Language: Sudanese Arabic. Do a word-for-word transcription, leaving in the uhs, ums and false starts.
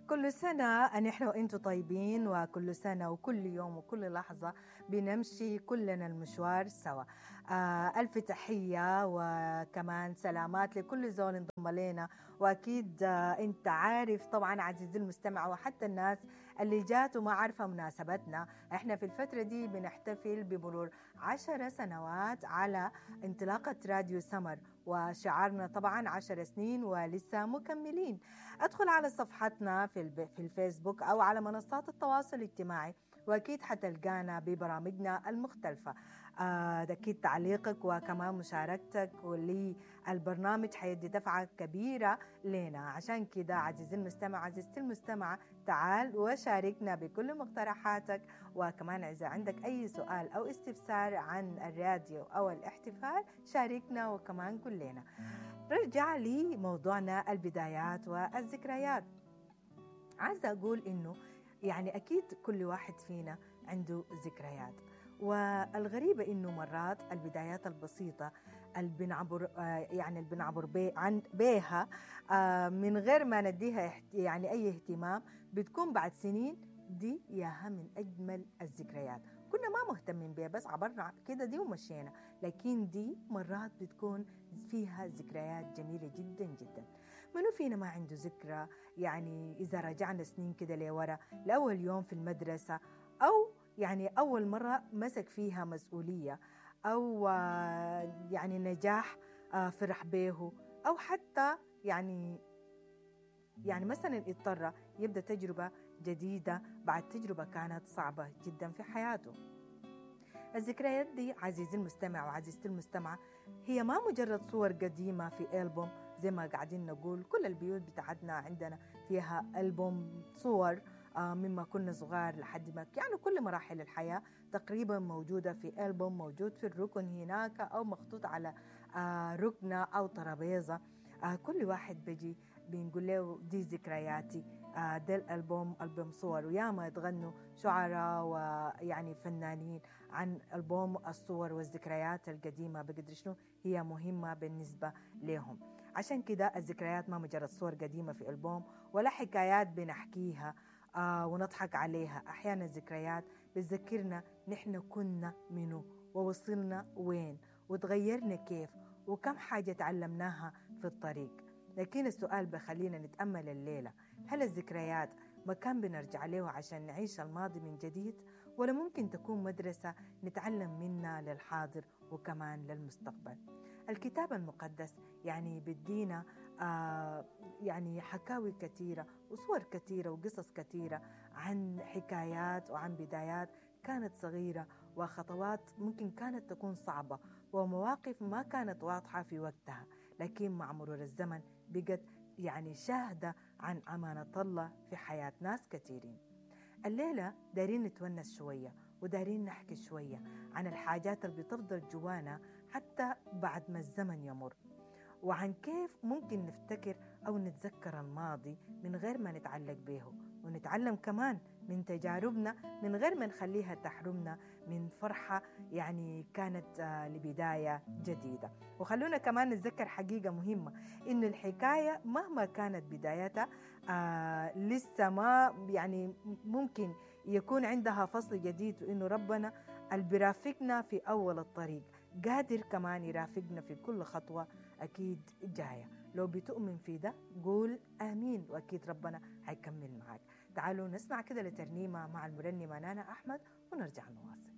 كل سنة نحن وانتم طيبين، وكل سنة وكل يوم وكل لحظة بنمشي كلنا المشوار سوا. آه ألف تحية وكمان سلامات لكل زول انضم لنا، وأكيد آه انت عارف طبعا عزيزي المستمع وحتى الناس اللي جات وما عارفة مناسبتنا، احنا في الفترة دي بنحتفل بمرور عشر سنوات على انطلاقة راديو سمر، وشعارنا طبعا عشر سنين ولسه مكملين. ادخل على صفحتنا في الب- في الفيسبوك أو على منصات التواصل الاجتماعي، وأكيد حتلقانا ببرامجنا المختلفة. آه، ده أكيد تعليقك وكمان مشاركتك للبرنامج حيدي دفعة كبيرة لنا. عشان كده عزيزي المستمع عزيزتي المستمعة، تعال وشاركنا بكل مقترحاتك، وكمان إذا عندك أي سؤال أو استفسار عن الراديو أو الاحتفال شاركنا وكمان كلنا. رجع لموضوعنا البدايات والذكريات. عايزة أقول إنه يعني أكيد كل واحد فينا عنده ذكريات، والغريبة إنه مرات البدايات البسيطة اللي بنعبر، آه، يعني اللي بنعبر بي عن بيها، آه، من غير ما نديها احت-، يعني أي اهتمام، بتكون بعد سنين دي ياها من أجمل الذكريات. كنا ما مهتمين بيها بس عبرنا كده دي ومشينا، لكن دي مرات بتكون فيها ذكريات جميلة جدا جدا. منو فينا ما عنده ذكرى؟ يعني إذا رجعنا سنين كده لورا، لأول يوم في المدرسة، أو يعني أول مرة مسك فيها مسؤولية، أو يعني نجاح، آه، فرح بيه، أو حتى يعني، يعني مثلا اضطر يبدأ تجربة جديدة بعد تجربة كانت صعبة جدا في حياته. الذكريات دي عزيزي المستمع وعزيزتي المستمعة هي ما مجرد صور قديمة في ألبوم، زي ما قاعدين نقول كل البيوت بتاعتنا عندنا فيها ألبوم صور، آه، مما كنا صغار لحد ما يعني كل مراحل الحياة تقريبا موجودة في ألبوم، موجود في الركن هناك أو مخطوط على، آه، ركنة أو ترابيزة. آه، كل واحد بيجي بنقول له دي ذكرياتي، آه، ده الألبوم، ألبوم صور. وياما يتغنوا شعراء ويعني فنانين عن ألبوم الصور والذكريات القديمة بقدر شنو هي مهمة بالنسبة لهم. عشان كده الذكريات ما مجرد صور قديمة في ألبوم ولا حكايات بنحكيها، آه، ونضحك عليها. أحيانا الذكريات بتذكرنا نحن كنا منو ووصلنا وين وتغيرنا كيف وكم حاجة تعلمناها في الطريق. لكن السؤال بخلينا نتأمل الليلة، هل الذكريات مكان بنرجع له عشان نعيش الماضي من جديد، ولا ممكن تكون مدرسة نتعلم منها للحاضر وكمان للمستقبل؟ الكتاب المقدس يعني بدينا، آه، يعني حكاوي كثيرة وصور كثيرة وقصص كثيرة عن حكايات وعن بدايات كانت صغيرة وخطوات ممكن كانت تكون صعبة ومواقف ما كانت واضحة في وقتها، لكن مع مرور الزمن بقت يعني شاهدة عن أمانة الله في حياة ناس كثيرين. الليلة دارين نتونس شوية ودارين نحكي شوية عن الحاجات اللي بتفضل جوانا حتى بعد ما الزمن يمر، وعن كيف ممكن نفتكر أو نتذكر الماضي من غير ما نتعلق به، ونتعلم كمان من تجاربنا من غير ما نخليها تحرمنا من فرحة يعني كانت، آه، لبداية جديدة. وخلونا كمان نتذكر حقيقة مهمة، إن الحكاية مهما كانت بدايتها، آه، لسه ما يعني ممكن يكون عندها فصل جديد، وإنه ربنا اللي بيرافقنا في أول الطريق قادر كمان يرافقنا في كل خطوة أكيد جاية. لو بتؤمن في ده قول آمين، وأكيد ربنا هيكمل معاك. تعالوا نسمع كده لترنيمة مع المرنمة نانا أحمد ونرجع نواصل.